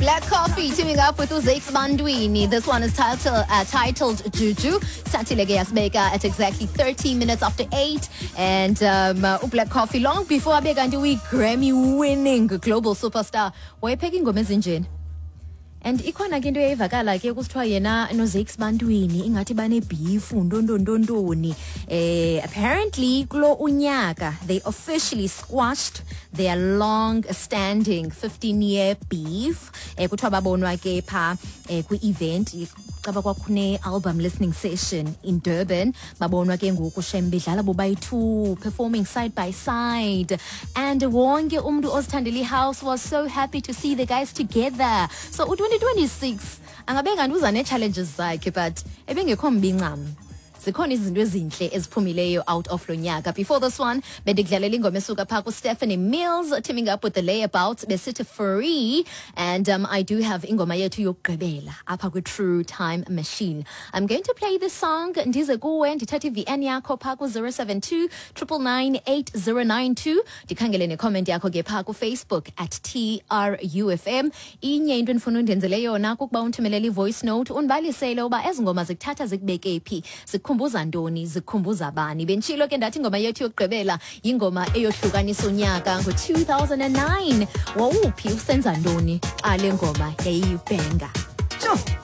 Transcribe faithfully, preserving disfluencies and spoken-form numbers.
Black Coffee teaming up with uZakes Bantwini. This one is titled, uh, titled Juju. Sathile ke yasibeka at exactly thirty minutes after eight. And um, uh, Black Coffee, long before abe kanti uyi-Grammy winning global superstar, wayepheka ingoma ezinjeni. And ikhona ke into eyayivakala ke kusithiwa yena noZakes Bantwini ingathi banebeef, ntontontontoni. eh apparently kulo unyaka they officially squashed their long standing fifteen year beef. eh kuthiwa babonwa ke pha eh, kwi-event, caba kwakune album listening session in Durban. Babonwa ke ngoku shem bedlala bobayi-two, performing side by side, and wonke umuntu ozithandela i-house was so happy to see the guys together. So u-twenty twenty-six angabe kanti uza nee-challenges zakhe, but ebengekho mbi ncam, zikhona izinto ezinhle eziphumileyo out of lo nyaka. Before this one, bendikudlalela ingoma esuka phaa kuStephanie Mills teaming up with the Layabouts, besithi Free. And um, I do have ingoma yethu yokugqibela apha kwi-True Time Machine. I'm going to play this song, ndize kuwe, ndithathe i-V N yakho phaa ku-zero seven two nine nine nine eight zero nine two, ndikhangele necomment yakho ke phaa kuFacebook at T R U F M. Inye into endifuna undenzele yona kukuba undithumelele i-voice note, undibalisele uba ezi ngoma zikuthatha zikubeke phi, zikukhumbuza ntoni, zikukhumbuza bani. Benditshilo ke ndathi ingoma yethu yokugqibela yingoma eyohlukanisa unyaka ngo-two thousand and nine. Wawuphi, usenza ntoni xa le ngoma yayiyibhenga? Tsho.